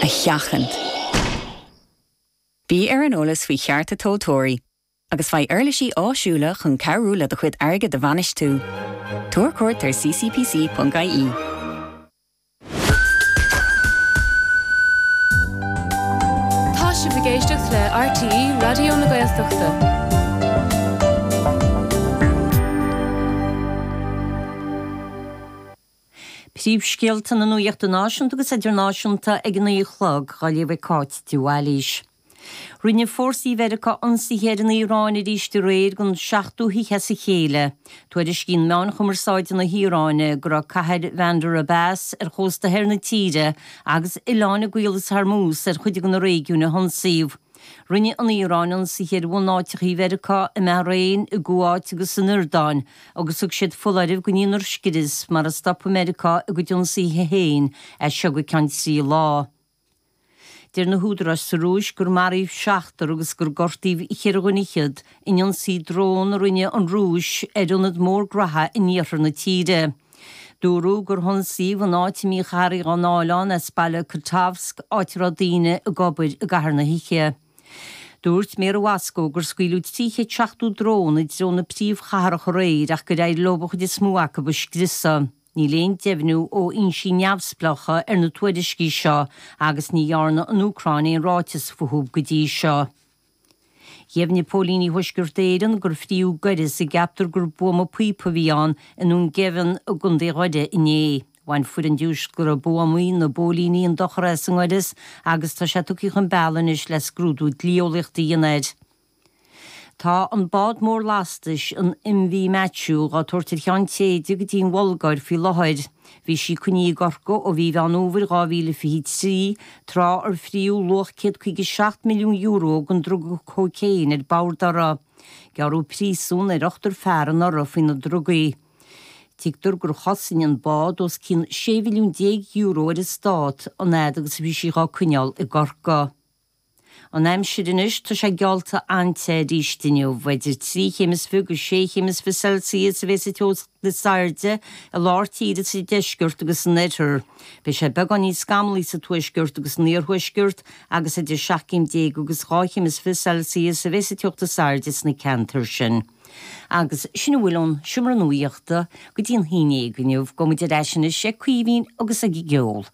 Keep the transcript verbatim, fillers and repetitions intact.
a sheachaint. Bí ar an eolas faoi chearta tomhaltóirí, agus faigh uirlisí áisiúla chun cabhrú le do chuid airgid a bhainistiú. Tabhair cuairt ar ccpc.ie. Tá sibh ag éisteacht le RTÉ Raidió na Gaeltachta. Príomhscéalta na nuachta náisiúnta agus idirnáisiúnta ag a naoi a chlog, á léamh ag Cáit de Bhailís. Rinne fórsaí Mheiriceá ionsaithe ar an Iaráin arís aréir don seachtú hoíche as a chéile. Tuairiscíonn meáin chumarsáide na hIaráine go raibh cathair Bhandar Abbas ar chósta thoir na tíre agus oileáin i gCaolas Hormuz ar chuid de na réigiúin a hionsaíodh. Rinne an Iaráin ionsaithe ar bhunáiteacha Mheiriceá i mBahrain, i gCuáit agus san Iordáin agus thug siad foláireamh go ndéanfar scrios mara stopann Meiriceá a gcuid ionsaithe féin as seo go ceann trí lá. Deir na húdaráis sa Rúis gur maraíodh seachtar agus gur gortaíodh cheithre dhuine fhichead in ionsaí drón a rinne an Rúis ar ionad mór graithe in iarthar na tíre. Dúradh gur hionsaíodh an áit a mbíodh earraí á ndáil ann as baile Kotovsk, áit a raibh daoine ag obair i gcaitheamh na hoíche. Dúirt Méara Mhoscó gur scaoileadh trí chéad seachtó drón i dtreo na príomhchathrach aréir ach gur éirigh leo an chuid is mó acu a scriosadh. Níl aon deimhniú ó fhoinsí neamhspleácha ar na tuairiscí seo agus ní dhearna an Úcráin aon ráiteas fúthu go dtí seo. Dheimhnigh póilíní Thuaisceart Éireann gur fríodh gaireas a gceaptar gur buama píopa a bhí ann i nDún Geimhin i gContae Dhoire inné. Bhain foireann diúscartha buamaí na bpóilíní an dochar as an ngaireas agus tá sé tugtha chun bealaigh anois le scrúdú dlí-eolaíochta a dhéanamh air. Tá an bád mór lastais, an MV Matthew, dhá tabhairt ar cheann téide go dtí an Bhulgáir faoi láthair. Bhí sí coinnithe i gCorcaigh ó mhí Mheán Fhómhair dhá mhíle fiche trí, tráth ar fríodh luach céad caoga seacht milliún euro den druga cócaon ar bord uirthi. Gearradh príosún ar ochtar fear anuraidh faoi na drugaí. Tuigtear gur chosain an bád os cionn sé mhilliún déag euro ar an stát an fhad agus a bhí sí dhá coinneáil i gCorcaigh. An aimsir anois, tá sé geallta an-te arís inniu. Idir trí chéim is fiche go sé chéim is fiche Celsius a bheas an teocht is airde i lár tíre sa deisceart agus san oirthear. Beidh sé beagán níos scamallaí sa tuaisceart agus san iarthuaisceart agus idir seacht gcéim déag agus dhá chéim is fiche Celsius a bheas an teocht is airde sna ceantair sin. Agus sin a bhfuil ón seomra nuachta go dtí an haon déag inniu. Gabhfaidh muid ar ais anois ag Caoimhín agus ag an gceol.